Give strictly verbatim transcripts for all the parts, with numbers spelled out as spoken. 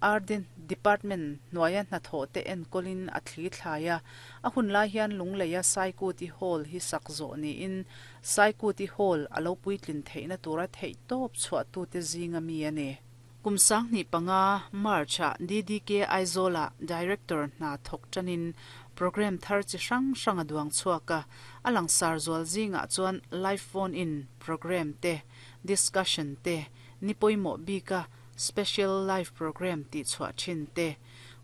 R D Department hnuaia hnathawh te enkawlin a thli thlai a, a hun lai hian Lungleia Saikuti Hall hi sak zawh niin Saikuti Hall a lo puitlin theihna tura theih tawp chhuahtute zinga mi a ni. Kum sanghnih panga March-ah D D K Aizawla Director hna thawk tanin program thar chi hrang hrang a duang chhuak a, a langsar zual zingah chuan live phone in program te, discussion te, ni pawimawh bika special live program tih chhuah thin te,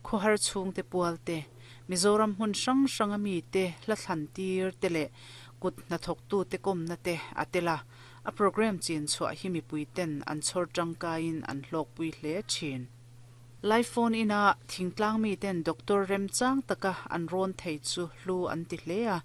khawhar chhungte pual te, Mizoram hmun hrang hranga mi te hla thlan tir te leh kut hnathawktu te kawmna te a tel a, a program chin chhuah hi mipui ten an chhawr tangkaiin an hlawkpui hle thin. Live phone ina thingtlang mi ten doctor remchang taka an rawn thei chu hlu an ti hle a,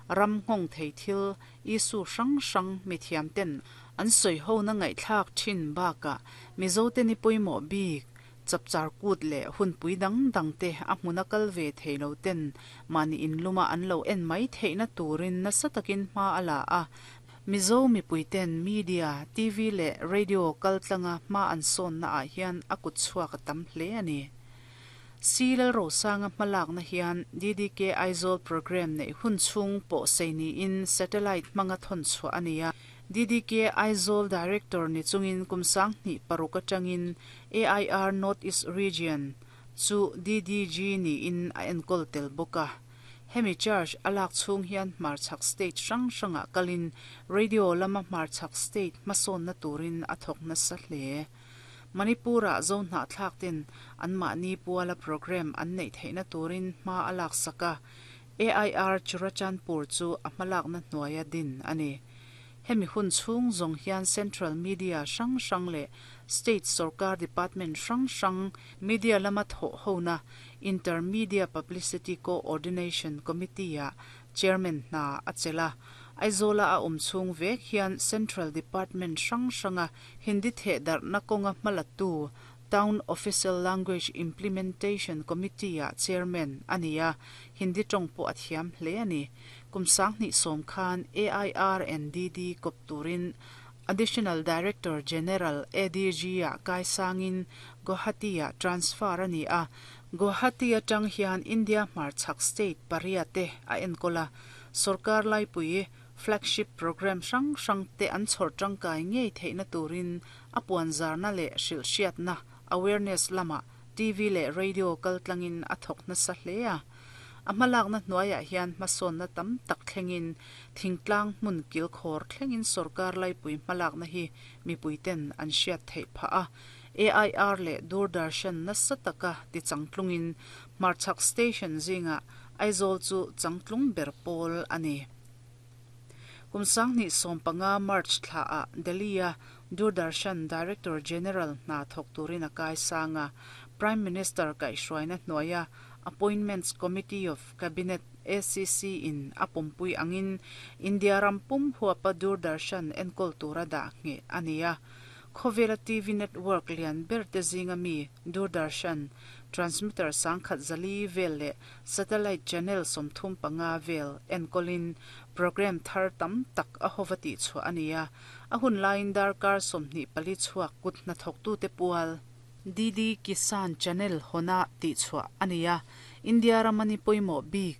ram nghawng thei thil issue hrang hrang mithiam ten an sawi ho na ngaihthlak thin bakah Mizo te ni pawimawh bik chapchar kut leh hunpui dang dang te a hmuna kal ve thei lo ten mahni inluma an lo en mai theihna turin nasa takin hma a la a. Mizo mipui ten media, T V leh radio kal tlanga hma an sawnna ah hian a kut chhuak a tam hle a ni. C Lalrosanga hmalakna hian D D K Aizawl program neih hun chhung pawh sei niin satellite hmanga thawn chhuah a ni a. D D K Aizawl Director ni chungin kum sanghnih paruk atangin A I R North East Region chu D D G niin a enkawl tel bawk a. Hemi charge a lak chhung hian hmarchhak state hrang hrangah kalin radio lama hmarchhak state hmasawnna turin a thawk nasa hle. Manipur-ah Zohnahthlak ten anmahni puala program an neih theihna turin hma a lak sak a, A I R Churachandpur chu a hmalakna hnuaia din a ni. Hemi hun chhung zawng hian Central Media hrang hrang leh State Sarkar Department hrang hrang media lama thawh hona Intermedia Publicity Coordination Committee-ah Chairman hna a chelh a. Aizawla a awm chhung vek hian Central Department hrang hranga Hindi thehdarhna kawnga hmalatu Town Official Language Implementation Committee-ah Chairman a ni a, Hindi tawng pawh a thiam hle a ni. Kum sanghnih sawm khan A I R and D D kawp turin Additional Director General A D G-ah kaisangin Guwahati-ah transfer a ni a. Guwahati atang hian India hmarchhak state pariat te a enkawl a, sarkar laipui flagship program hrang hrang te an chhawr tangkai ngei theihna turin a puanzarna leh hrilhhriatna awareness lamah T V leh radio kaltlangin a thawk nasa hle a. A hmalakna hnuaiah hian hmasawnna tam tak thlengin thingtlang hmun kilkhawr thlengin sarkar laipui hmalakna hi mipui ten an hriat theih phah a. A I R leh Doordarshan nasa taka ti changtlungin hmarchhak station zingah Aizawl chu changtlung ber pawl a ni. Kum sanghnih sawm panga March thlaah Delhi-a Doordarshan Director General hna thawk turin a kaisang a, Prime Minister kaihhruaina hnuaia Appointments Committee of Cabinet A C C in a pawmpui angin India ram pum huapa Doordarshan enkawl tura dah ngheh a ni a. Khawvela T V network lian ber te zinga mi Doordarshan transmitter sangkhat zali vel leh satellite channel sawmthum panga vel enkawlin program thar tam tak a hova tih chhuah a ni a. A hun laiin darkar sawmhnih pali chhuak kut hnathawktute pual D D Kisan Channel hawna tih chhuah a ni a. India ramani pawimawh bik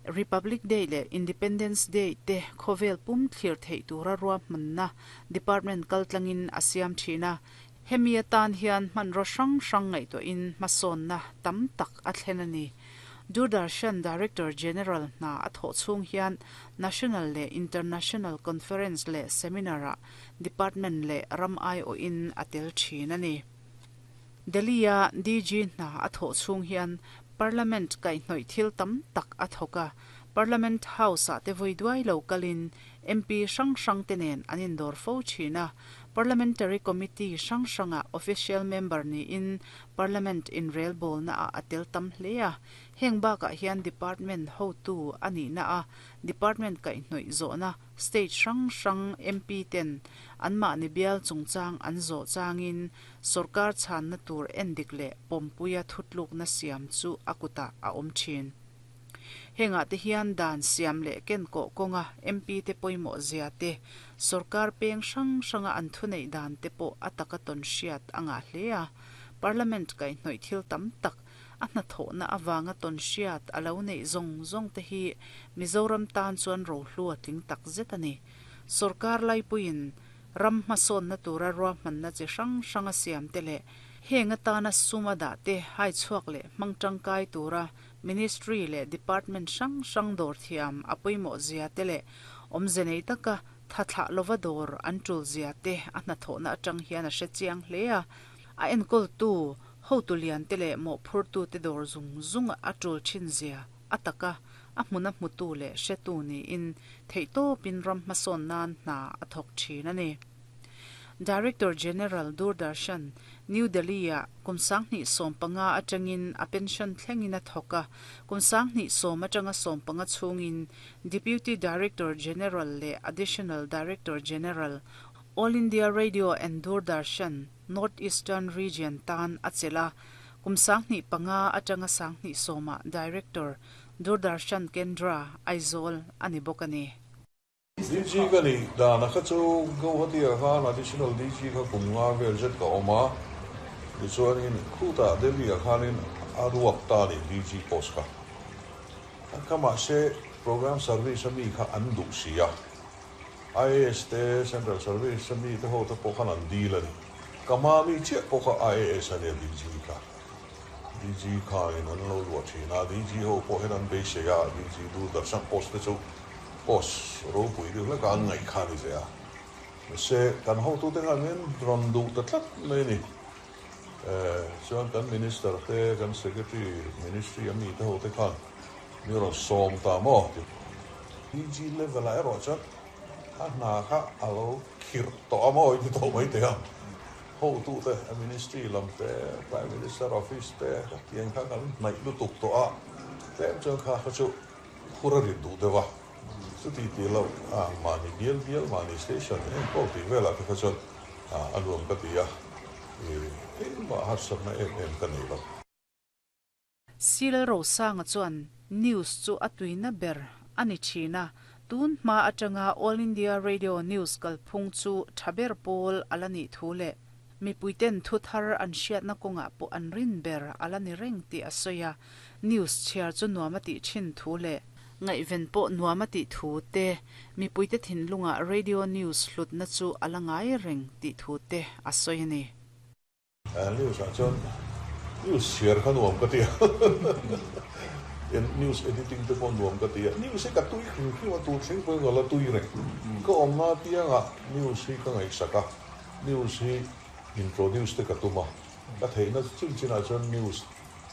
Republic Day leh Independence Day te khawvel pum thlir theih tura ruahmanna department kaltlangin a siam thin a. Hemi atan hian hmanraw hrang hrang ngaihtuahin hmasawnna tam tak a thlen a ni. Doordarshan Director General hna a thawh chhung hian National leh International Conference leh Seminar-ah department leh ram aiawhin a tel thin a ni. Delhi-a D G hna a thawh chhung hian Parliament kaihhnawih thil tam tak a thawk a. Parliament House-ah te vawi duai lo kalin M P hrang hrang te nen an indawr fo thin a. Parliamentary Committee hrang hrangah official member niin Parliament inrelbawlnaah a tel tam hle a. Heng bakah hian department hotu a nihna a department kaihhnawih zawhna state hrang hrang M P ten anmahni bial chungchang an zawh changin sarkar chhanna tur endik leh pawmpuia thutlukna siam chu a kutah a awm thin. Hengah te hian dan siam leh ken kawh kawnga M P te pawimawh zia te, sarkar peng hrang hranga an thu neih dan te pawh a taka tawn hriat a ngah hle a. Parliament kaihhnawih thil tam tak a hnathawhna avanga tawn hriat a lo neih zawng zawng te hi Mizoram tan chuan rohlu a tling tak zet a ni. Sorkar laipuiin ram hmasawnna tura ruahmanna chi hrang hrang a siam te leh heng atana sum a dah te hai chhuak leh hmang tangkai tura Ministry leh Department hrang hrang dawr thiam a pawimawh zia te leh awmze nei taka tha thlah lova dawr an tul zia te a hnathawhna atang hian a hre chiang hle a. A enkawltu hotu lian te leh mawhphurtu te dawr zung zung a tul thin zia a taka a hmuna hmutu leh hretu niin theihtawpin ram hmasawn nan hna a thawk thin a ni. Director General Doordarshan New Delhi a kum sanghnih sawm panga atangin a pension thlengin a thawk a, kum sanghnih sawm atanga sawm panga chhungin Deputy Director General leh Additional Director General All India Radio and Doordarshan North Eastern Region tan a chelh a, kum sanghnih panga atanga sanghnih sawmah Director Doordarshan Kendra Aizawl a ni bawk a ni. D G ka ni dana kha chu Guwahati ah khan additional D G kha kum nga vel zet ka awm a, tichuanin khutah Delhi ah khanin a ruak ta a ni D G post kha. Ka mahse program service a mi kha an duh si a, I A S te Central Service a mi te ho te pawh khan an deal a ni. Ka hma mi chiah pawh kha I A S a nia D G kha. D G khanin an lo luah thin a, D G ho pawh hian an beisei a, D G Doordarshan post te chu post ropui deuh hlek a an ngaih kha a ni ve a. Mahse kan hotute khan min rawn duh ta tlat mai a ni. Chuan kan minister te, kan secretary, ministry a mi te ho te khan min rawn sawm ta maw ti. D G level ah erawh chuan a hna kha a lo khirh tawh a maw ti tawh mai thei a. Hotute ministry lam te, Prime Minister office te tiang kha kan hnaih lutuk tawh a, tlem chuan kha kha chu phur a rit duh deuh a. Chuti ti lo a mahni bial bial mahni station enkawl tih velah te kha chuan a nuam ka ti a, engmah harsatna em em ka nei lo. Sil Rosanga chuan news chu a tuina ber a ni thin a, tun hma atanga All India Radio News kalphung chu tha ber pawl a la nih thu leh mipuiten thu thar an hriatna kawngah pawh an rin ber a la ni reng tih a sawi a, news chhiar chu nuam a tih thin thu leh ngaihven pawh nuam a tih thu te, mipuite thinlungah radio news hlutna chu a la ngai reng tih thu te a sawi a ni. News ah chuan news chhiar kha nuam ka ti a, news editing te pawh nuam ka ti a, news hi ka tui hrim hrim a, tun thleng pawhin ka la tui reng. Ka awmna piangah news hi ka ngaihsak a, news hi introduce te ka tum a, ka theihna chin chinah chuan news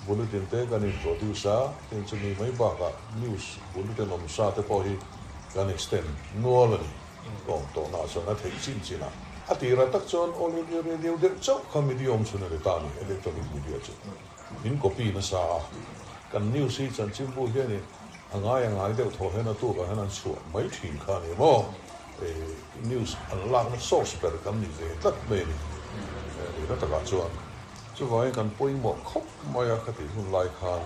bulletin te kan introduce a, tin chumi mai bakah news bulletin awm sa te pawh hi kan extend nual a ni. Ka awm tawhnaah chuan a theih chin chinah a tira tak chuan All India Radio deuh chauh kha media awm chhun a ni ta a ni, electronic media chu min copy nasa a, kan news hi chanchinbu hianin a ngai a ngai deuh thaw hian a tukah hian an chhuah mai thin kha a ni maw, news an lakna source ber kan ni ve tlat mai a ni. Lehna takah chuan chuvangin kan pawimawh khawp mai a ka tih hun lai khan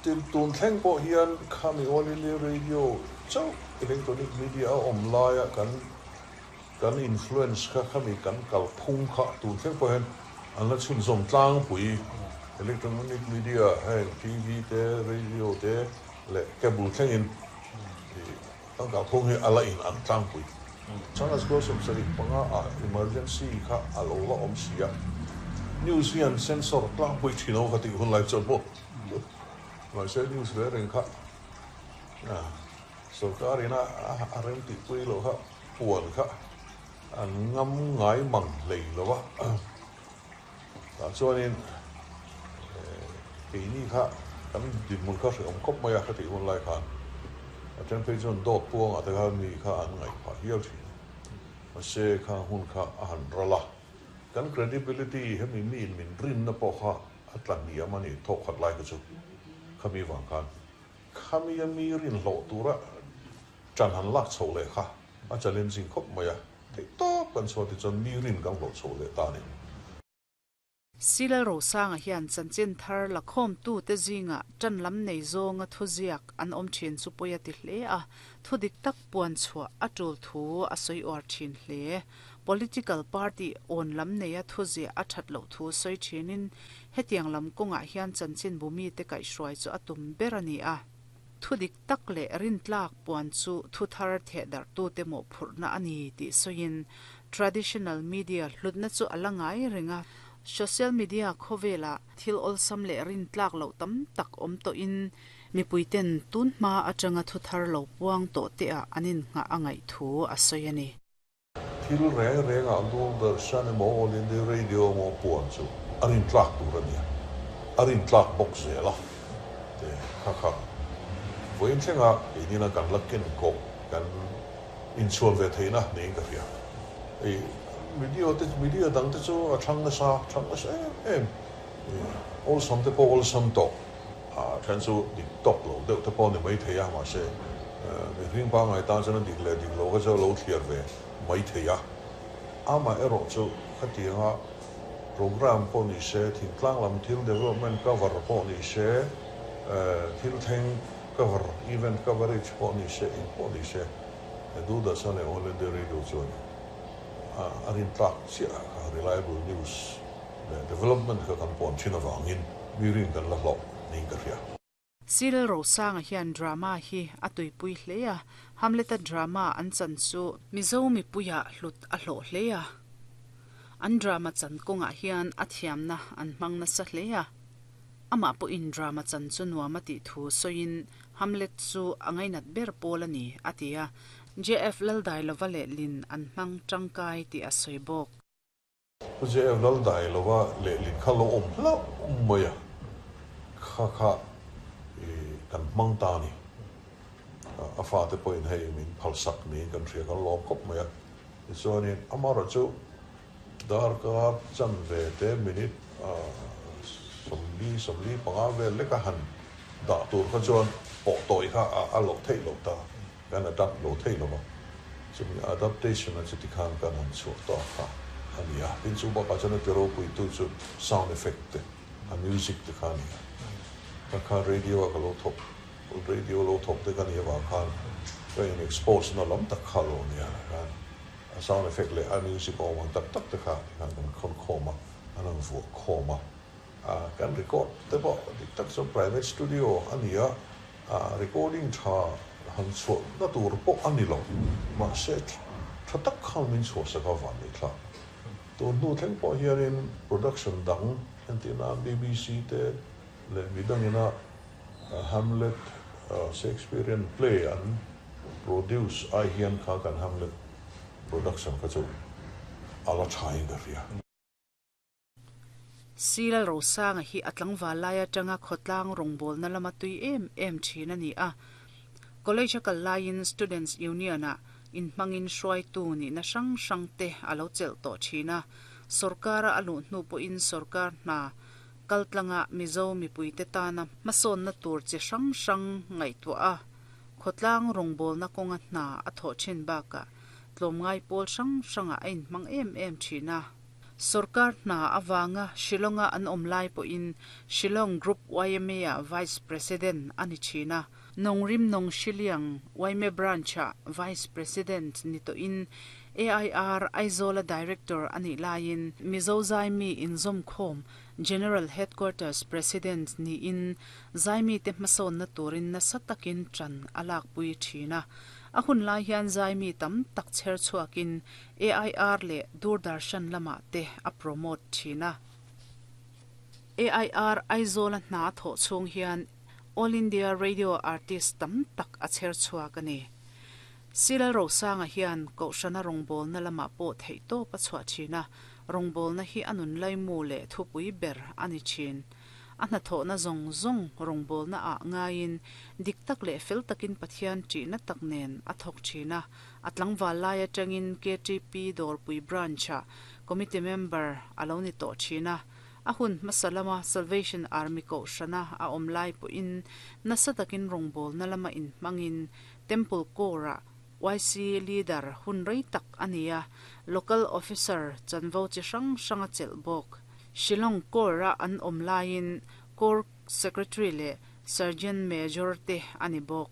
tin tun thleng pawh hian khami All India Radio chauh electronic media a awm laia kan kan influence kha khami kan kalphung kha tun thleng pawh hian an la chhunzawm tlangpui electronic media heng T V te radio te leh cable thlengin kan kalphung hi a la in an tlangpui. Changkas Gosum sarih panga ah emergency kha a lo la awm si a, news hian sensor tlangpui thin ho kha tih hun lai chuan maw mahse news ve reng kha sorkarin a a rem tihpui loh kha puan kha an ngam ngai mang hlei lo a, tah chuanin keini kha kan dinhmun kha hreawm khawp mai a ka tih hun lai khan a then phei chuan dawt puangah te kha mi kha an ngaih phah hial thin a, mahse kha hun kha a han ral a, kan credibility hemi mi in min rinna pawh kha a tla hniam a ni thawk khat lai kha chu khami vang khan khami a mi rin hlawh tura tan han lak chho leh kha a challenging khawp mai a, theihtawp kan chhuah ti chuan mi rin kan hlawh chho leh ta a ni. Silal Rosanga hian chanchin thar lakhawm tu te zinga tan lam nei zawnga thu ziak an awm thin chu pawi a ti hle a, thu dik tak puan chhuah a tul thu a sawi uar thin hle. Political party awn lam neia thuziah a that loh thu sawi thinin hetiang lam kawngah hian chanchin bumi te kaihhruai chu a tum ber a ni a. Thu dik tak leh rintlak puan chu thu thar theh darh tu te mawhphurhna a ni tih sawiin traditional media hlutna chu a la ngai reng a. Social media khawvelah thil awlsam leh rintlak loh tam tak awm tawhin mipuiten tun hma atanga thu thar lo puang tawh te ah an innghah a ngaih thu a sawi a ni. Thil reng rengah Doordarshan emaw All India Radio emaw puan chu a rintlak tur a ni a, a rintlak bawk zel a te kha kha vawiin thlengah keinin kan la ken kawh kan inchhuan ve theihna niin ka hria. Hei video te media dang te chu a thlang nasa thlang nasa em em awlsam te pawh awlsam tawh a then chu dik tawk lo deuh te pawh ni mai thei a, mahse mihring pangngai tan chuan a dik leh dik lo kha chu a lo thliar ve mai thei a. Amaherawh chu khatianga program pawh ni se, thingtlang lam thil development cover pawh ni se, thil thleng cover event coverage pawh ni se, eng pawh ni se, Doordarshan leh All India Radio chuan a rintlak chiah kha reliable news leh development kha kan puan thin avangin mi rin kan la hlawh niin ka hria. C Lalrosanga hian drama hi a tuipui hle a, Hamlet-a drama an chan chu Mizo mipuiah hlut a hlawh hle a. An drama chan kawngah hian a thiamna an hmang nasa hle a. Amah pawhin drama chan chu nuam a tih thu sawiin Hamlet chu a ngainat ber pawl a ni a ti a. J F Laldailova leh Lin an hmang tangkai tih a sawi bawk. J F Laldailova leh Lin kha lo awm hlauh mai a, kha kha kan hmang ta a ni. A fate pawhin hei min phalsak niin kan hria kan lawm khawp mai a. Tichuanin amaherawh chu darkar chan ve te minute sawmli sawmli panga vel leka han dah tur kha chuan pawh tawi kha a loh theih loh ta, kan adapt lo theih lo va. Chumi adaptation a chuti khan kan han chhuah ta kha a ni a. Tin chu bakah chuan a ti ropuitu chu sound effect te, a music te kha a ni a. Ka kha radio a ka lo thawk, radio lo thawk te ka ni avang khan ka in expose na lam tak kha lo nia khan a sound effect leh a music awm ang tak tak te kha tikhan kan khawn khawm a, an han vuah khawm a. Kan record te pawh dik tak chuan private studio a ni a, recording tha han chhuah na tur pawh a ni lo, mahse tha tak khan min chhuahsak a van ni thlak. Tun hnu thleng pawh hianin production dang entirna B B C te leh midangina Hamlet Shakespearean play an produce ai hian kha kan Hamlet production kha chu a la thain ka hria. C Lalrosanga hi a tlangval lai atanga khawtlang rawngbawlna lama tui em em thin a ni a. College a kal laiin Students Union ah inhmangin hruaitu nihna hrang hrang te a lo chelh tawh thin a. Sorkara a luh hnu pawhin sorkar hna kaltlanga Mizo mipuite tana hmasawnna tur chi hrang hrang ngaihtuah a. Khawtlang rawngbawlna kawnga hna a thawh thin bakah tlawmngai pawl hrang hrangah a inhmang em em thin a. Sorkar hna awanga Shillonga an awm lai pawhin Shillong Group Y M A ah Vice President a ni thin a. Nongrim Nong Shiliang Y M A Branch ah Vice President ni tawhin A I R Aizawl-a Director a nih laiin Mizo Zaimi inzawm khawm General Headquarters President niin Zaimi te hmasawnna turin nasa takin tan a lakpui thin a. A hun lai hian Zaimi tam tak chher chhuakin A I R leh Doordarshan lamah te a promote thin a. A I R Aizawl-a hna thawh chhung hian All India Radio Artist tam tak a chher chhuak a ni. C Lalrosanga hian kohhrana rawngbawlna lamah pawh theih tawp a chhuah thin a, rawngbawlna hi a nun laimu leh thupui ber a ni thin. A hnathawhna zawng zawng rawngbawlna ah ngaiin dik tak leh fel takin Pathian ṭihna tak nen a thawk thin a. A tlangval lai atangin K T P Dawrpui Branch ah committee member a lo ni tawh thin a. A hun hmasa lama Salvation Army kohhrana a awm lai pawhin nasa takin rawngbawlna lama inhmangin Temple Corps ah Y C leader hun rei tak a ni a, local officer chanvo chi hrang hrang a chelh bawk. Shillong Corps a an awm laiin Corps Secretary leh Sergeant Major te a ni bawk.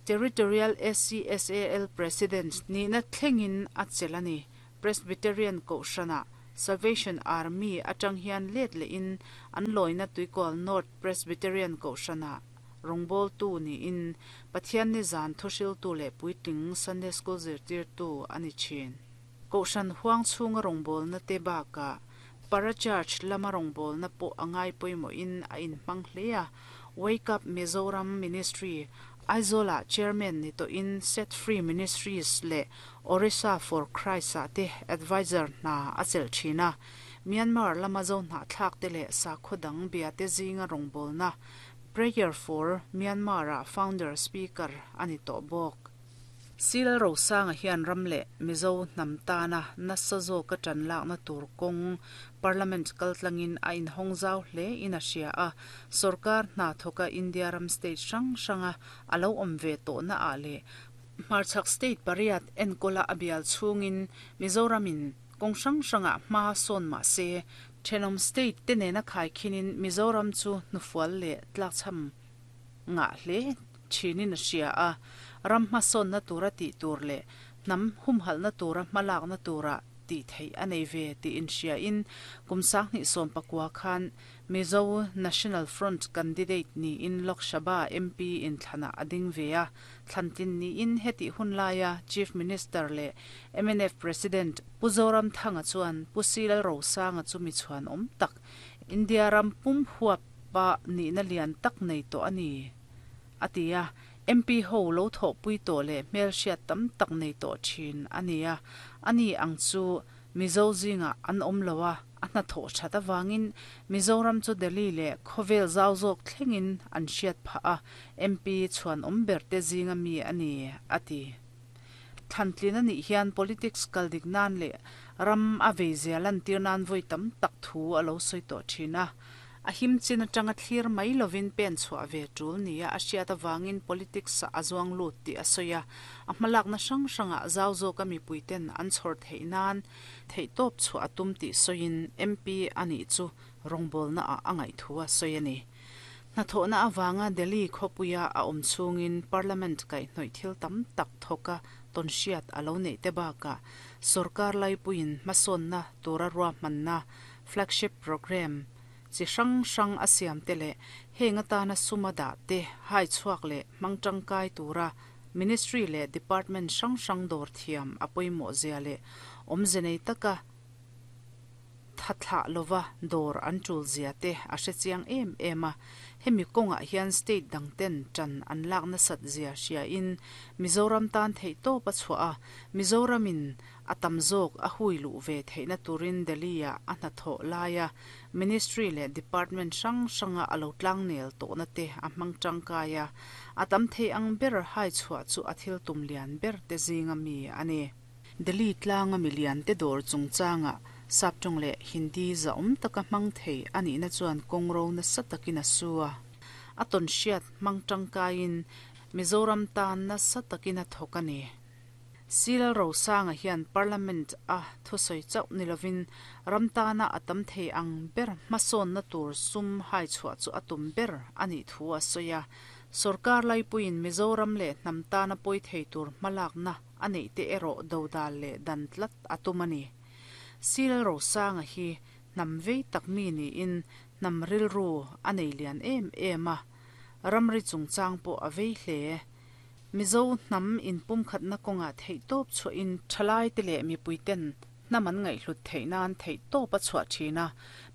Territorial S C S A L President nihna thlengin a chelh a ni. Presbyterian Kohhrana Salvation Army atang hian let lehin an lawina Tuikual North Presbyterian Kohhrana rawngbawltu niin Pathianni zan thuhriltu leh puitling Sunday School zirtirtu a ni thin. Kohhran huang chhunga rawngbawlna te bakah Parachurch lama rawngbawlna pawh a ngai pawimawhin a inhmang hle a. Wake Up Mizoram Ministry Aizawlah Chairman ni tawhin Set Free Ministries leh Orissa for Christ ah te advisor hna a chelh thin a. Myanmar lama zo hnahthlak te leh sakhaw dang bia te zinga rawngbawlna Prayer for Myanmar ah founder speaker a ni tawh bawk. C Lalrosanga hian ram leh Mizo hnam tana nasa zawka tan lakna tur kawng Parliament kaltlangin a inhawng zau hle in a hria a. Sorkar hna thawka India ram state hrang hranga a lo awm ve tawhna ah leh Hmarchhak state pariat enkawla a bial chhungin Mizoramin kawng hrang hrangah hma sawn mah se thenawm state te nena khaikhinin Mizoram chu hnufual leh tlakchham ngah hle thinin a hria a. Ram hmasawnna tura tih tur leh hnam humhalhna tura hmalakna tura tih theih a nei ve tih inhriain kum sanghnih sawm pakua khan Mizo National Front candidate niin Lok Sabha M P inthlana a ding ve a. Thlantlin niin hetih hun laia Chief Minister leh M N F President Pu Zoramthanga chuan Pu C Lalrosanga chu mi chhuan awm tak, India ram pum huap pa nihna lian tak nei tawh a ni a ti a. M P ho lo thawhpui tawh leh hmel hriat tam tak nei tawh thin a ni a. Ani ang chu Mizo zinga an awm lo a, a hna thawh that awangin Mizoram chu Delhi leh khawvel zau zawk thlengin an hriat phah a, M P chhuan awm ber te zinga mi a ni a ti. Thlantlin anih hian politics kal dik nan leh ram a vei zia lan tir nan vawi tam tak thu a lo sawi tawh thin a. A him chin atanga thlir mai lovin pen chhuah ve tul nia a hriat awangin politics a zuang lut tih a sawi a. A hmalakna hrang hranga zau zawka mipuiten an chhawr theih nan theih tawp chhuah a tum tih sawiin M P anih chu rawngbawlna ah a ngaih thu a sawi a ni. Hnathawhna awanga Delhi khawpuia a awm chhungin Parliament kaihhnawih thil tam tak thawka tawn hriat a lo neih te bakah sarkar laipuiin hmasawnna tura ruahmanna flagship program chi hrang hrang a siam te leh heng atana suma dah te hai chhuak leh hmang tangkai tura ministry leh department hrang hrang dawr thiam a pawimawh zia leh awmze nei taka thathlah lova dawr an tul zia te a hre chiang em em a. Hemi kawngah hian state dang ten tan an lakna sat zia hriain Mizoram tan theih tawp a chhuah a. Mizoramin a tam zawk a hui luh ve theihna turin Delhi ah a hnathawh laia ministry leh department hrang hranga a lo tlang nel tawhna te a hmang tangkai a. A tam thei ang ber hai chhuah chu a thil tum lian ber te zinga mi a ni. Delhi tlanga milian te dawr chungchanga saptawng leh Hindi za awm taka hmang thei anih na chuan kawngro nasa takin a su a. A tawn hriat hmang tangkaiin Mizoram tan nasa takin a thawk a ni. C Lalrosanga hian Parliament a thusawi chauh ni lovin ram tana a tam thei ang ber hmasawnna tur sum hai chhuah chu a tum ber anih thu a sawi a. Sarkar laipuiin Mizoram leh hnam tana pawi thei tur hmalakna a neih te erawh dodal leh dan tlat a tum a ni. C Lalrosanga hi hnam vei tak mi niin hnam rilru a nei lian em em a. Ramri chungchang pawh a vei hle. Mizo hnam inpum khatna kawnga theih tawp chhuahin thalai te leh mipuiten hnam an ngaihhlut theih nan theih tawp a chhuah thin a.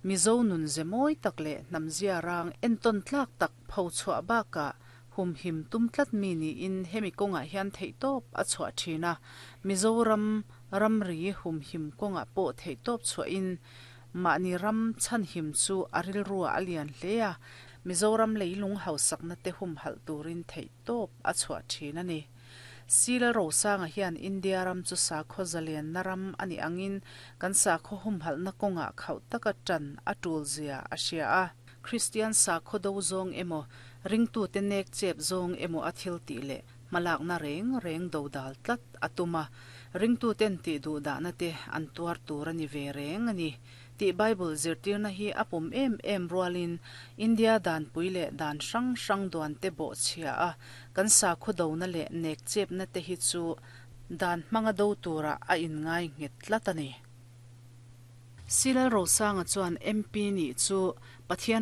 Mizo nun ze mawi tak leh hnam zia rang entawn tlak tak pho chhuah bakah humhim tum tlat mi niin hemi kawngah hian theih tawp a chhuah thin a. Mizoram ramri humhim kawngah pawh theih tawp chhuahin mahni ram chhanhim chu a rilru a lian hle a. Mizoram leilung hausakna te humhalh turin theih tawp a chhuah thin a ni. C Lalrosanga hian India ram chu sakhaw zalianna ram ani angin kan sakhaw humhalhna kawngah khauh taka tan a tul zia a hria a. Christian sakhaw do zawng emaw ringtu te nek chep zawng emaw a thil tih leh hmalakna reng reng dodal tlat a tum a. Ringtu ten tih duh dahna te an tuar tur ani ve reng ani tih Bible zirtirna hi a pawm em em rualin India dan pui leh dan hrang hrang duan te bawh chhia a kan sakhaw dona leh nek chepna te hi chu Dan hmanga do tura a inngai nghet tlat a ni. Silal Rosanga chuan M P ni chu Pathian